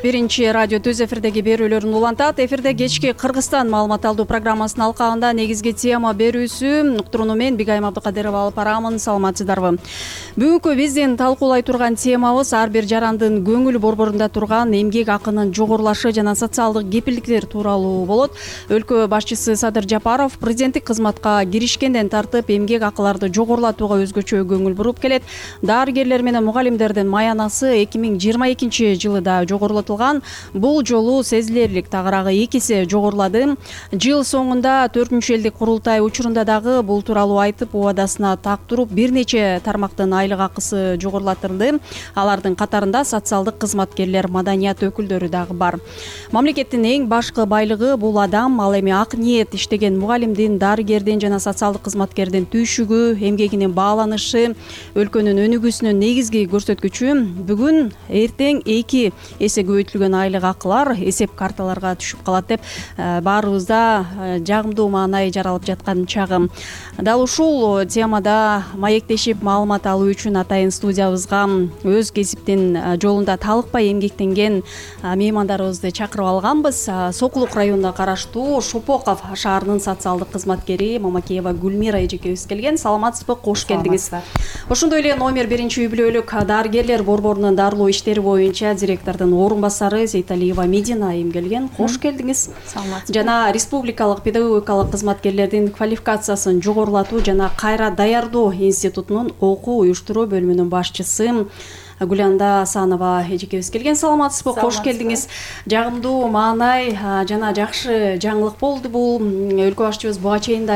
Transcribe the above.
Биринчи радио Түз эфирдеги берүүлөрүн улантат. Эфирде кечки Кыргызстан маалымат алуу программасынын алкагында негизги тема берүүсү уктурууну мен Бигайым Абдыкадырова алып барамын. Саламатсыздарбы? Бүгүнкү биздин талкуулай турган темабыз ар бир жарандын көңүл борборунда турган эмгек акынын жогорулашы жана социалдык кепилдиктер тууралуу болот. Өлкө башчысы Садыр Жапаров президенттик кызматка киришкенден тартып эмгек акыларды жогорулатууга өзгөчө көңүл буруп келет. Дарыгерлер менен мугалимдердин маянасы 2022 жылы да жогорулатылган. Бул жолу сезилерлик тагыраагы 2 эсе жогорулады. Жыл соңунда 4-элдик курултай учурунда дагы бул тууралуу айтып, убадасына так туруп, бир нече тармактын айлык акысы жогорулатылды. Алардын катарында социалдык кызматкерлер, маданият өкүлдөрү дагы бар. Мамлекеттин эң башкы байлыгы бул адам, ал эми ак ниет иштеген мугалимдин, дарыгердин жана социалдык кызматкердин түйшүгү, эмгегинин бааланышы, өлкөнүн өнүгүүсүнүн негизги көрсөткүчү. Бүгүн эртең 2 эсе көбөйтүлгөн айлык акылар эсеп карталарга түшүп калат деп баарыбызда жагымдуу маанай жаралып жаткан чагы. Дал ушул темада маектешип маалымат алуу үчүн атайын студиябызга өз кесиптин жолунда талыкпай эмгектенген меймандарыбызды чакырып алганбыз. Сокулук районуна караштуу Шопоков шаарынын социалдык кызматкери Мамакеева Гүлмира эжекебиз келген. Саламатсызбы? Кош келдиңиз. Ошондой эле номер 1-үй-бүлөлүк дарыгерлер борборунун дарылоо иштери боюнча директордун орун басары Сейталиева Медина айым келген. Кош келдиңиз. Саламатсызбы? Жана республикалык педагогикалык кызматкерлердин квалификациясын жогорулатуу жана кайра даярдоо институтунун окуу уюштуруу бөлүмүнүн башчысы Гүланда Асанова эжекебиз келген. Саламатсызбы? Кош келдиңиз. Жагымдуу маанай жана жакшы жаңылык болду бул. Өлкө башчыбыз буга чейин да